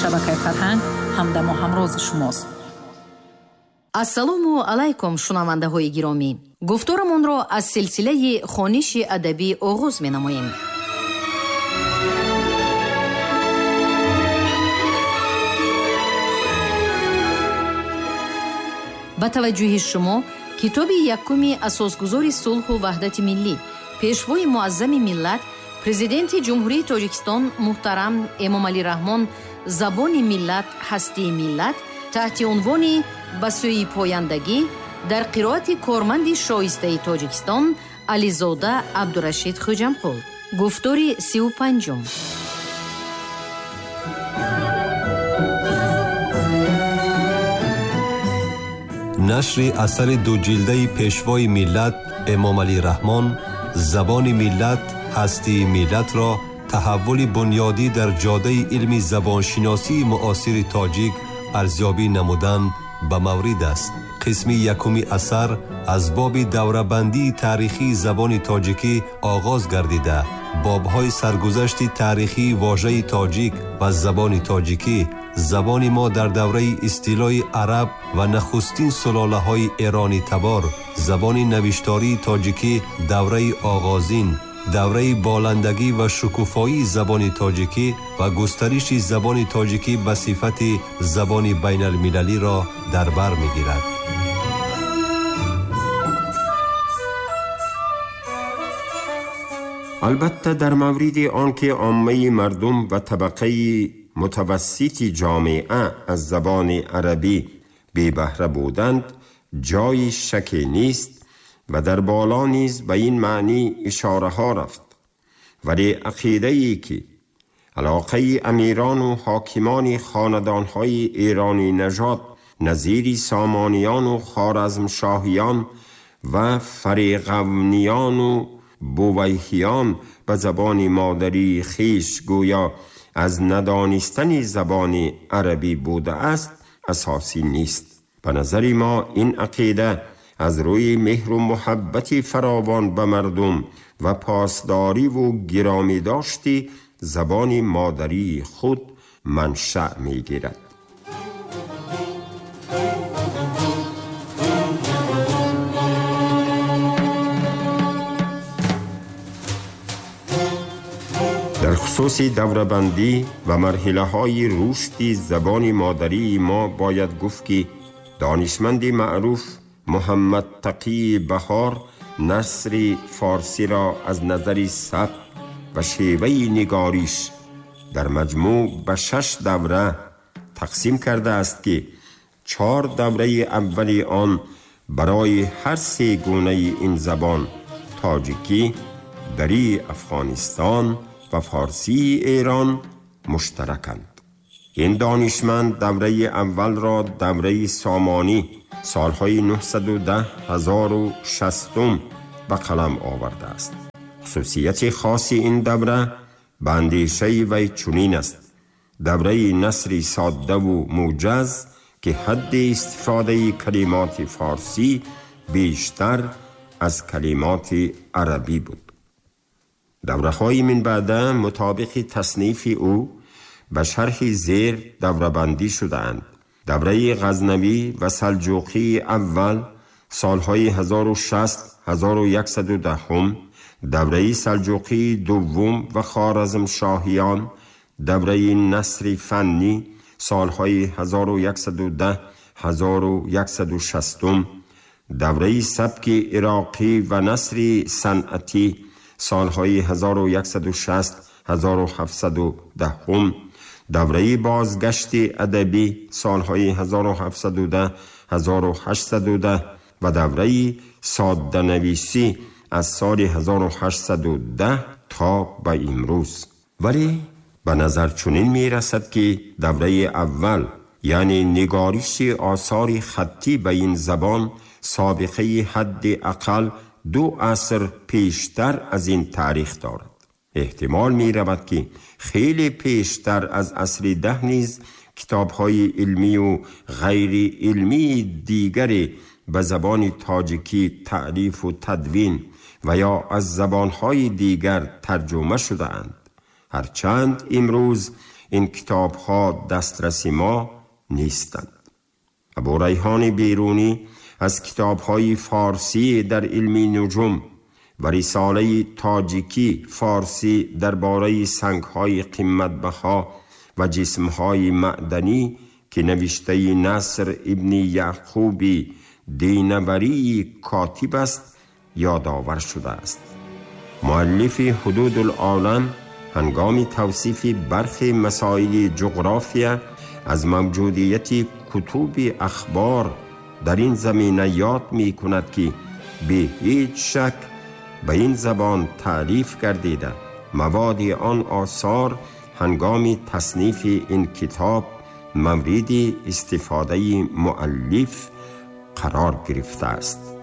Шабакаи Фарҳанг ҳамдаму ҳамрози шумост. Ассалому алайкум, шунавандаҳои гиромӣ. Гуфторамонро аз силсилаи хониши адабӣ оғоз менамоем. Ба таваҷҷӯҳи шумо китоби якуми асосгузори сулҳу ваҳдати миллӣ, пешвои муаззами миллат, президенти Ҷумҳурии Тоҷикистон муҳтарам Эмомалӣ Раҳмон «Забони миллат, ҳастии миллат» таҳти унвони «Ба сӯи пояндагӣ» дар қироати корманди шоистаи Тоҷикистон Ализода Абдурашид Хӯҷамқул. Гуфтори 35-ум. Нашри асари дуҷилдаи пешвои миллат Эмомалӣ Раҳмон «Забони миллат, ҳастии миллат»-ро таҳаввули бунёдӣ дар ҷодаи илми забоншиносии муосири тоҷик арзёбӣ намудан ба маврид аст. Қисми якуми асар аз боби даврабандии таърихии забони тоҷикӣ оғоз гардида, бобҳои саргузашти таърихии вожаи тоҷик ва забони тоҷикӣ, забони мо дар давраи истилои араб ва нахустин сулолаҳои эронӣ табор, забони навиштории тоҷикӣ давраи оғозин, давраи боландагӣ ва шукуфоии забони тоҷикӣ ва густариши забони тоҷикӣ ба сифати забони байналмилалиро дар бар мегирад. Албатта, дар мавриди он ки оммаи мардум ва табақаи мутавассити ҷомеа аз забони арабӣ бебаҳра буданд, ҷои шаке нест ва дар боло низ ба ин маънӣ ишораҳо рафт. Вале ақидае ки алоқаи амирону ҳокимони хонадонҳои эронӣ нажод назири сомониёну хоразмшоҳиён ва фариғавниёну бувайҳиён ба забони модарии хеш гӯё аз надонистани забони арабӣ будааст, асосӣ нест. Ба назари мо ин ақида аз рӯи меҳру муҳаббати фаровон ба мардум ва посдориву гиромӣ дошти забони модарии худ маншаъ мегирад. Дар хусуси даврабандӣ ва марҳилаҳои рушди забони модарии мо бояд гуфт, ки донишманди маъруф Муҳаммад Тақӣ Баҳор насри форсиро аз назари сабк ва шеваи нигориш дар маҷмӯъ ба 6 давра тақсим кардааст, ки 4 давраи аввали он барои ҳар се гунаи ин забон тоҷикӣ, дарии Афғонистон ва форсии Эрон муштараканд. Ин донишманд давраи аввалро давраи сомонӣ солҳои 910-1060 ба қалам овардааст. Хусусияти хоси ин давра ба андешаи вай чунин аст: давраи насри соддаву муҷаз, ки ҳадди истифодаи калимоти форсӣ бештар аз калимоти арабӣ буд. Давраҳои минбаъда мутобиқи таснифи ӯ ба шарҳи зер даврабандӣ шудаанд. Давраи ғазнавӣ ва салҷуқии аввал солҳои 1060-1110, давраи салҷуқии дуввум ва хоразмшоҳиён, давраи насри фаннӣ солҳои 1110-1160, давраи сабки ироқӣ ва насри санъатӣ солҳои 1160-1710, давраи бозгашти адабӣ солҳои 1710-1810 ва давраи содданависӣ аз соли 1810 то ба имрӯз. Вале ба назар чунин мерасад, ки давраи аввал, яъне нигориши осори хаттӣ ба ин забон, собиқаи ҳадди ақал 2 аср пештар аз ин таърих дорад. Эҳтимол меравад, ки хеле пештар аз асри 10 низ китобҳои илмию ғайриилмии дигаре ба забони тоҷикӣ таълифу тадвин ва ё аз забонҳои дигар тарҷума шудаанд. Ҳарчанд имрӯз ин китобҳо дастраси мо нестанд. Абӯрайҳони Берунӣ аз китобҳои форсӣ дар илми нуҷум ва рисолаи тоҷикӣ форсӣ дар бораи сангҳои қиматбаҳо ва ҷисмҳои маъданӣ, ки навиштаи Наср ибни Яъқуби Динаварии котиб аст, ёдовар шудааст. Муаллифи Ҳудудулолам ҳангоми тавсифи бархе масоили ҷуғрофия аз мавҷудияти кутуби ахбор дар ин замина ёд мекунад, ки бе ҳеҷ шак ба ин забон таълиф гардида, маводи он осор ҳангоми таснифи ин китоб мавриди истифодаи муаллиф қарор гирифтааст.